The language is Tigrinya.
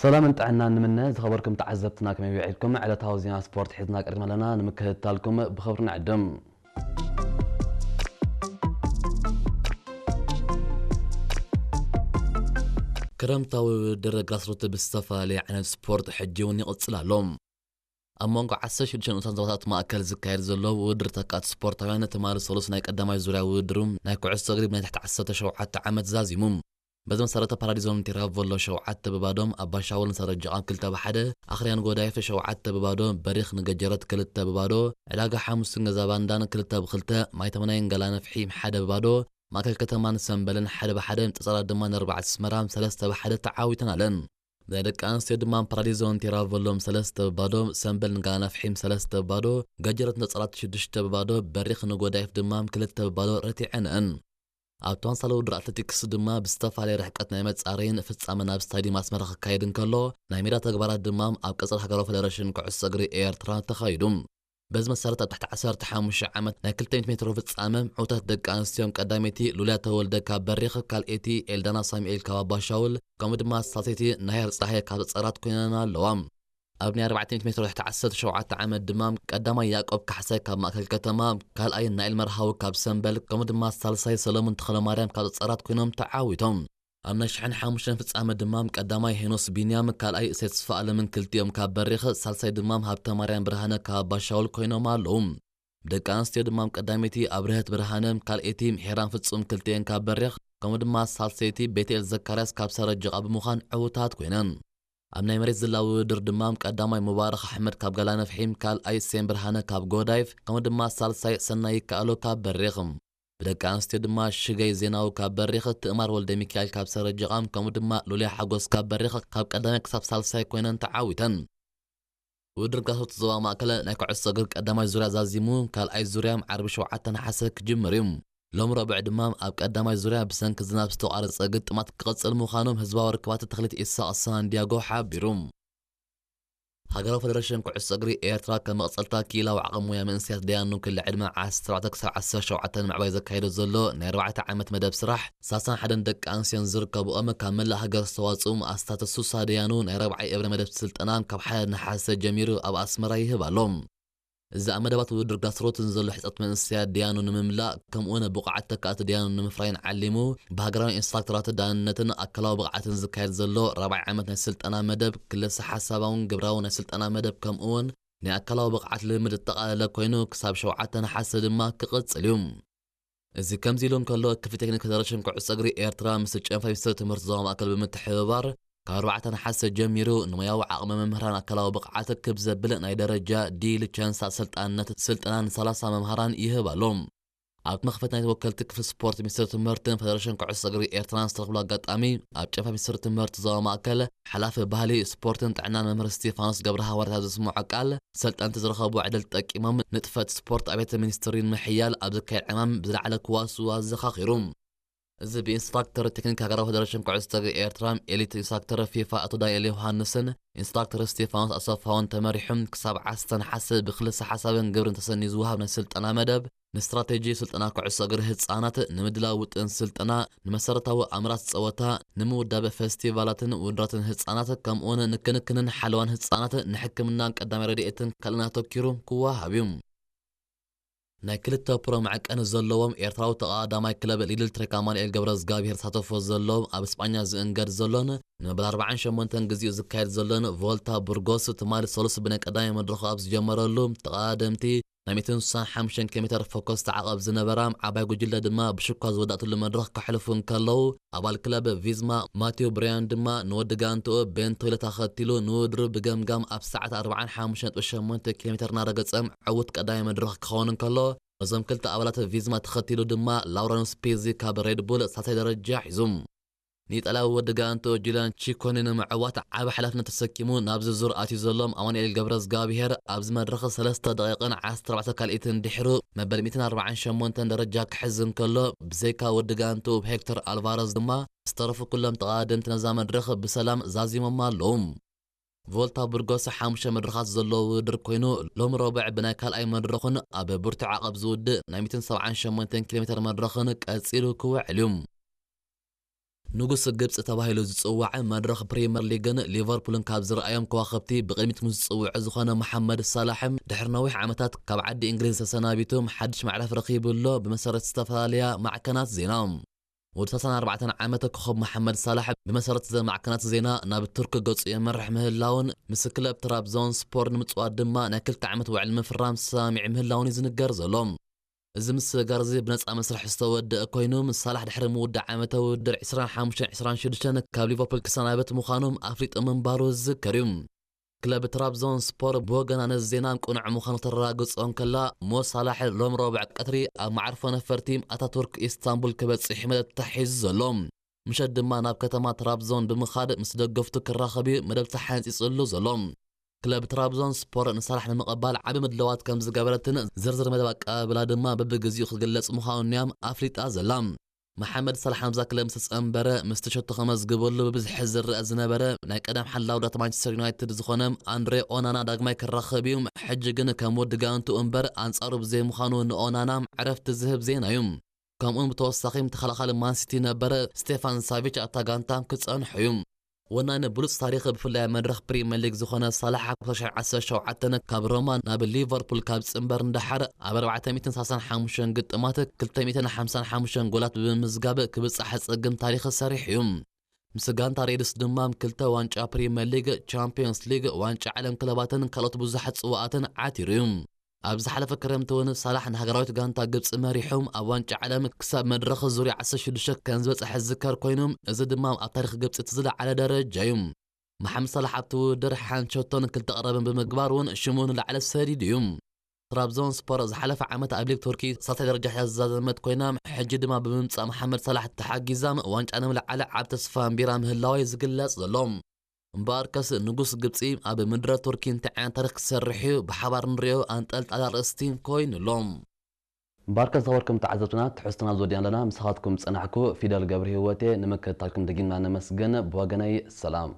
ሰላምን ጥዕናን ንምነ። ዝኸበርኩም ተዓዘብትና ከመይ ውዒልኩም? ዕለታዊ ዜና ስፖርት ሒዝና ቀሪብና ኣለና፣ ንምክትታልኩም ብኽብሪ ንዕድም። ክረምታዊ ውድድር ግራስሩት ብዝተፈላለየ ዓይነት ስፖርት ሕጂ እውን ይቕጽል ኣሎ። ኣብ መንጎ ዓሰርተ ሽዱሽተ ንኡሳን ዞባታት ማእከል ዝካየድ ዘሎ ውድድር ተካእቲ ስፖርታውያን ትማሊ ሰሉስ ናይ ቀዳማይ ዙርያ ውድድሩ ናይ ኩዕሶ እግሪ ብናይ ትሕቲ ዓሰርተ ሸውዓተ ዓመት ዛዚሙ። በዚ መሰረት ፓራዲዞን ቲራቮሎ ሸውዓተ ብባዶ፣ ኣባሻውል ንሰረጀቓን ክልተ ብሓደ፣ ኣኽርያን ጎዳይፍ ሸውዓተ ብባዶ፣ በሪኽ ንገጀረት ክልተ ብባዶ፣ ዕዳጋ ሓሙስን ገዛ ባንዳን ክልተ ብክልተ፣ ማይተመናይን ገላ ነፍሒም ሓደ ብባዶ፣ ማእከል ከተማን ሰምበልን ሓደ ብሓደ፣ ጸጸራት ድማ ንኣርባዕተ ኣስመራ ሰለስተ ብሓደ ተዓዊተን ኣለን። ናይ ደቂ ኣንስትዮ ድማ ፓራዲዞን ቲራቮሎም ሰለስተ ብባዶ፣ ሰምበል ንገላ ነፍሒም ሰለስተ ብባዶ፣ ገጀረት ንጸጸራት ሽዱሽተ ብባዶ፣ በሪኽ ንጎዳይፍ ድማ ክልተ ብባዶ ረቲዐንአን። ኣብ ተመሳሳሊ ውድድር ኣትሌቲክስ ድማ ብዝተፈላለየ ርሕቀት ናይ መጻረይን ፍጻመን ኣብ ስታዲየም ኣስመራ ክካየድ እንከሎ፣ ናይ ሜዳ ተግባራት ድማ ኣብ ቀጽሪ ሃገራዊ ፌደሬሽን ኩዕሶ እግሪ ኤርትራ ተኻይዱ። በዚ መሰረት ኣብ ትሕቲ ዓሰርተ ሓሙሽተ ዓመት ናይ ክልተ ሚእቲ ሜትሮ ፍጻመ ዕውታት ደቂ ኣንስትዮን ቀዳመይቲ ሉልያ ተወልደ ካብ በሪኽ፣ ካልኣይቲ ኤልዳና ሳሙኤል ካብ ኣባሻውል፣ ከምኡ ድማ ሳልሰይቲ ናሄር ጸሃየ ካብ ጸራት ኮይነን ኣለዋ። ኣብ ናይ ኣርባዕተ ሚእቲ ሜትሮ ትሕቲ ዓሰርተ ሸውዓተ ዓመት ድማ ቀዳማይ ያዕቆብ ካሕሳይ ካብ ማእከል ከተማ፣ ካልኣይ ናኤል መርሃዊ ካብ ሰምበል፣ ከምኡ ድማ ሳልሳይ ሰለሙን ተኽለማርያም ካብ ጸራት ኮይኖም ተዓዊቶም። ኣብ ናይ ሽሕን ሓሙሽተን ፍጻመ ድማ ቀዳማይ ሄኖስ ቢንያም፣ ካልኣይ እሴት ተስፋ ኣለምን ክልቲኦም ካብ በሪኽ፣ ሳልሳይ ድማ ሃብተ ማርያም ብርሃነ ካብ ኣባሻውል ኮይኖም ኣለዉ። ብደቂ ኣንስትዮ ድማ ቀዳመይቲ ኣብርሀት ብርሃነ፣ ካልኣይቲ ሄራን ፍጹም ክልቲኤን ካብ በሪኽ፣ ከምኡ ድማ ሳልሰይቲ ቤትኤል ዘካርያስ ካብ ሰረጀቓ ብምዃን ዕውታት ኮይነን። ኣብ ናይ መሬት ዝላ ውድድር ድማ ቀዳማይ ሙባረኽ ኣሕመድ ካብ ገላ ነፍሒም፣ ካልኣይ ሴም ብርሃነ ካብ ጎዳይፍ፣ ከምኡ ድማ ሳልሳይ ሰናይ ይከኣሎ ካብ በሪኽ። ብደቂ ኣንስትዮ ድማ ሽገይ ዜናዊ ካብ በሪኽ፣ ትእማር ወልደ ሚካኤል ካብ ሰረጀቓም፣ ከምኡ ድማ ሉልያ ሓጎስ ካብ በሪኽ ካብ ቀዳማይ ክሳብ ሳልሳይ ኮይነን ተዓዊተን። ውድድር ጋሶት ዞባ ማእከል ናይ ኩዕሶ እግሪ ቀዳማይ ዙርያ ዛዚሙ፣ ካልኣይ ዙርያ ዓርቢ ሸውዓተ ነሓሰ ክጅምር እዩ። ሎም ረቡዕ ድማ ኣብ ቀዳማይ ዙርያ ብሰንኪ ዝናብ ዝተቋረጸ ግጥማት ክቕጽል ምዃኖም ህዝባዊ ርክባት ተኽሊት ኢሳቕ ሳንዲያጎ ሓቢሩ። ሃገራዊ ፌደሬሽን ኩዕሶ እግሪ ኤርትራ ከም መቕጸልታ ክኢላዊ ዓቕሚ ሞያ መንእሰያት ደያኑ ክሊ ዕድመ ዓሰርተ ኣርባዕተ ክሳብ ዓሰርተ ሸውዓተ ንምዕባይ ዘካየዶ ዘሎ ናይ ኣርባዕተ ዓመት መደብ ስራሕ፣ ሰላሳን ሓደን ደቂ ኣንስትዮን ዝርከብኦም ካብ መላእ ሃገር ዝተዋጽኡ ኣስታት ሱሳ ደያኑ ናይ ራብዓይ እብረ መደብ ስልጠና ካብ ሓደ ነሓሰ ጀሚሩ ኣብ ኣስመራ ይህብ ኣሎ። እዚ ኣብ መደባት ውድድር ጋስሮትን ዘሎ ሕጸት መንእሰያት ደያኑ ንምምላእ፣ ከምኡውን ብቑዓት ተካእቲ ደያኑ ንምፍራይን ዓሊሙ፣ ብሃገራዊ ኢንስትራክተራት ዳንነትን ኣካላዊ ብቕዓትን ዝካየድ ዘሎ ራብዓይ ዓመት ናይ ስልጠና መደብ፣ ክልሰ ሓሳባውን ግብራውን ናይ ስልጠና መደብ፣ ከምኡውን ናይ ኣካላዊ ብቕዓት ልምምድ ዘጠቓለለ ኮይኑ፣ ክሳብ ሸውዓተ ነሓሰ ድማ ክቕጽል እዩ። እዚ ከምዚ ኢሉ እንከሎ፣ ክፍሊ ቴክኒክ ፌደሬሽን ኩዕሶ እግሪ ኤርትራ ምስ ጨንፈር ሚኒስትሪ ትምህርቲ ዞባ ማእከል ብምትሕብባር፣ ካብ ኣርባዕተ ነሓሰ ጀሚሩ ንሞያዊ ዓቕሚ መምህራን ኣካላዊ ብቕዓት ክብ ዘብል ናይ ደረጃ ዲ ሊቸንስ ኣሰልጣንነት ስልጠና ንሰላሳ መምሃራን ይህብ ኣሎ። ኣብ መኽፈት ናይ ወከልቲ ክፍሊ ስፖርት ሚኒስትሪ ትምህርትን ፌደሬሽን ኩዕሶ እግሪ ኤርትራን ዝተረኽብሉ ኣጋጣሚ፣ ኣብ ጨንፈር ሚኒስትሪ ትምህርቲ ዞባ ማእከል ሓላፊ ባህሊ፣ ስፖርትን ጥዕናን መምህር ስቴፋኖስ ገብረ ሃዋርያት ኣብ ዘስምዖ ቃል፣ ሰልጠንቲ ዝረኸቡ ዕድል ተጠቂሞም ንጥፈት ስፖርት ኣብያተ ሚኒስትሪ ንምሕያል ኣብ ዝካየድ ዕማም ብዝለዓለ ክዋስኡ ኣዘኻኺሩ። እዚ ብኢንስትራክተር ቴክኒክ ሃገራዊ ፌደሬሽን ኩዕሶ እግሪ ኤርትራ፣ ኤሊት ኢንስትራክተር ፊፋ ኣቶ ዳንኤል ዮሃንስን ኢንስትራክተር ስቴፋኖስ ኣሰፋውን ተመሪሑ ክሳብ ዓሰርተ ነሓሰ ብክልሰ ሓሳብን ግብርን ተሰንዩ ዝወሃብ ናይ ስልጠና መደብ፣ ንስትራቴጂ ስልጠና ኩዕሶ እግሪ ህጻናት፣ ንምድላው ውጥን ስልጠና፣ ንመሰረታዊ ኣምራት ጸወታ፣ ንምውዳብ ፈስቲቫላትን ውድድራትን ህጻናት፣ ከምኡውን ንክንክንን ሓለዋን ህጻናት፣ ንሕክምናን ቀዳማይ ረድኤትን ካልእን ኣተኪሩ ክወሃብ እዩ። ናይ ክልተ ፕሮ መዐቀኒ ዘለዎም ኤርትራዊ ተቐዳዳማይ ክለብ ሊድል ትሬክ ኣማኑኤል ገብረዝጋብሄር ተሳተፎ ዘለዎም ኣብ እስጳኛ ዝእንገድ ዘሎን ንመበል ኣርባዓን ሸሞንተን ግዜኡ ዝካየድ ዘሎን ቮልታ ቡርጎስ ትማሊ ሰሉስ ብናይ ቀዳማይ መድረኹ ኣብ ዝጀመረሉ ተቐዳደምቲ ናይ ሚእትን ስሳን ሓሙሽተን ኪሎ ሜተር ፎከስ ተዓቐብ ዝነበራ ዓባይ ጉጅለ ድማ ብሽኳ ዝወዳእትሉ መድረኽ ከሕልፉ እንከለዉ ኣባል ክለብ ቪዝማ ማቴዎ ብርያን ድማ ንወዲ ጋንትኡ ቤን ቶይለት ኣኸቲሉ ንውድድሩ ብገምጋም ኣብ ሰዓት ኣርባዓን ሓሙሽተን ነጥቢ ሸሞንተ ኪሎ ሜተር እናረገጸ ዕዉት ቀዳማይ መድረኽ ክኸውን እንከሎ፣ እዞም ክልተ ኣባላት ቪዝማ ተኸቲሉ ድማ ላውረንስ ፒዚ ካብ ሬድ ቡል ሳልሳይ ደረጃ ሒዙ። ንኢጣልያዊ ወዲ ጋንትኡ ጁልያን ቺኮኒ ንምዕዋት ዓቢ ሓላፍነት ተሰኪሙ ናብዚ ዙር ኣትዩ ዘሎ ኣማኑኤል ገብረዝጋብሄር ኣብዚ መድረኽ ሰለስተ ደቂቕን ዓሰርተ ኣርባዕተ ካልኢትን ድሒሩ መበል ሚእትን ኣርባዓን ሸሞንተን ደረጃ ክሕዝ እንከሎ፣ ብዘይካ ወዲ ጋንትኡ ሄክተር ኣልቫረዝ ድማ ዝተረፉ ኩሎም ተቐዳደምቲ ነዛ መድረኽ ብሰላም ዛዚሞማ ኣለዉ። ቮልታ ቡርጎስ ሓሙሽተ መድረኻት ዘለዎ ውድድር ኮይኑ፣ ሎሚ ረቡዕ ብናይ ካልኣይ መድረኹን ኣብ ብርቱዕ ዓቐብ ዝውድእ ናይ ሚእትን ሰብዓን ሸሞንተን ኪሎ ሜተር መድረኽን ቀጺሉ ክውዕል እዩ። ንጉስ ግብፂ ተባሂሉ ዝፅዋዕ መድረኽ ፕሪምየር ሊግን ሊቨርፑልን ካብ ዝረኣዮም ከዋኽብቲ ብቕድሚት ምስ ዝፅውዑ ዝኾነ መሓመድ ሳላሕ፣ ድሕሪ ነዊሕ ዓመታት ካብ ዓዲ እንግሊዝ ተሰናቢቱ ሓድሽ መዕረፊ ረኺቡ ኣሎ። ብመሰረት ዝተፈላለያ ማዕከናት ዜና፣ ወዲ ሰላሳን ኣርባዕተን ዓመት ኮኸብ መሓመድ ሳላሕ ብመሰረት ዘ ማዕከናት ዜና ናብ ቱርክ ገፁ የመርሕ ምህላውን ምስ ክለብ ትራብዞን ስፖር ንምፅዋት ድማ ናይ ክልተ ዓመት ውዕል ምፍራም ሰማሚዕ ምህላውን እዩ ዝንገር ዘሎ። እዚ ምስግጋር እዚ ብነፃ መስርሕ ዝተወደአ ኮይኑ፣ ምስ ሳላሕ ድሕሪ ምውዳእ ዓመተ ውድድር ዕስራን ሓሙሽተን ዕስራን ሽዱሽተን ካብ ሊቨርፑል ክሰናበት ምዃኑ ኣፍሊጡ ምንባሩ ዝዝከር እዩ። ክለብ ትራብዞን ስፖር ብወገና ነዚ ዜና ቅኑዕ ምዃኑ ተረጋግጾ እንከላ፣ ሞ ሳላሕ ሎም ረቡዕ ቀትሪ ኣብ መዓርፎ ነፈርቲ ኣታቱርክ ኢስታንቡል ክበጽሕ መደብ ተታሒዙ ዘሎ። ምሸት ድማ ናብ ከተማ ትራብዞን ብምኻድ ምስ ደገፍቱ ክራኸብ እዩ መደብ ተሓንጺጹሉ ዘሎ። ክለብ ትራብዞን ስፖር ንሳላሕ ንምቕባል ዓቢ ምድላዋት ከም ዝገበረትን ዝርዝር መደብ ኣቀባብላ ድማ በብግዜኡ ክግለጽ ምዃኑን እያ ኣፍሊጣ ዘላ። መሓመድ ሳላሕ ናብዛ ክለብ ምስ ተጸንበረ፣ ምስቲ ሸቶ ከመዝግበሉ ብብዝሒ ዝረአ ዝነበረ ናይ ቀደም ሓላው ዳት ማንቸስተር ዩናይትድ ዝኾነ ኣንድሬ ኦናና ዳግማይ ክራኸብ እዩ። ሕጂ ግን ከም ወዲ ጋንቱ እምበር ኣንጻሩ ብዘይምዃኑ፣ ንኦናና ዕረፍቲ ዝህብ ዜና እዩ። ከምኡውን ብተወሳኺ ተኸላኻሊ ማንሲቲ ነበረ ስቴፋን ሳቪች ኣብታ ጋንታ ክጸንሑ እዩ። ወናኒ ብሉጽ ታሪኽ ብፍላይ መድረኽ ፕሪምየር ሊግ ዝኾነ ሳላሕ ኣብ ክልተ ሽሕን ዓሰርተ ሸውዓተን ካብ ሮማ ናብ ሊቨርፑል ካብ ዝጽንበር ንደሓር ኣብ ኣርባዕተ ሚእትን ሰላሳን ሓሙሽተን ግጥማት ክልተ ሚእትን ሓምሳን ሓሙሽተን ጎላት ብምምዝጋብ ክብጻሕ ጸግም ታሪኽ ሰሪሑ እዩ። ምስ ጋንታ ሬድስ ድማ ክልተ ዋንጫ ፕሪምየር ሊግ፣ ቻምፒዮንስ ሊግ፣ ዋንጫ ዓለም ክለባትን ካልኦት ብዙሓት ጽዋኣትን ዓቲሩ እዩ። ኣብ ዝሓለፈ ክረምቲ እውን ሳላሕ ንሃገራዊት ጋንታ ግብጺ መሪሑ ኣብ ዋንጫ ዓለም ክሳብ መድረኽ ዙርያ ዓሰርተ ሽዱሽተ ከም ዝበጽሐ ዝዝከር ኮይኑ፣ እዚ ድማ ኣብ ታሪኽ ግብጺ እቲ ዝለዓለ ደረጃ እዩ። መሓመድ ሳላሕ ኣብቲ ውድድር ሓንቲ ሸቶን ክልተ ቀረብን ብምግባር እውን ሽሙ ንላዕሊ ሰዲዱ እዩ። ትራብዞን ስፖር ዝሓለፈ ዓመት ኣብ ሊግ ቱርኪ ሳልሳይ ደረጃ ሒዛ ዝዛዘመት ኮይና፣ ሕጂ ድማ ብምምጻእ መሓመድ ሳላሕ ተሓጊዛ ዋንጫ ንምልዓል ዓብ ተስፋ ኣንቢራ ምህላዋ እዩ ዝግለጽ ዘሎ። እምበኣርከስ ንጉስ ግብጺ ኣብ ምድረ ቱርኪ እንታይ ዓይነት ታሪኽ ክሰርሕ እዩ? ብሓባር ንሪኦ ኣንጠልጣሊ ኣርእስቲ ኮይኑ ኣሎ። እምበኣርከስ ዝኸበርኩም ተዓዘብትና፣ ትሕዝቶና ዝወዲና ኣለና። ምሳኻትኩም ጸናሕኩ ፊደል ገብረ ህይወቴ። ንምክትታልኩም ደጊምና ነመስግን። ብወገነይ ሰላም።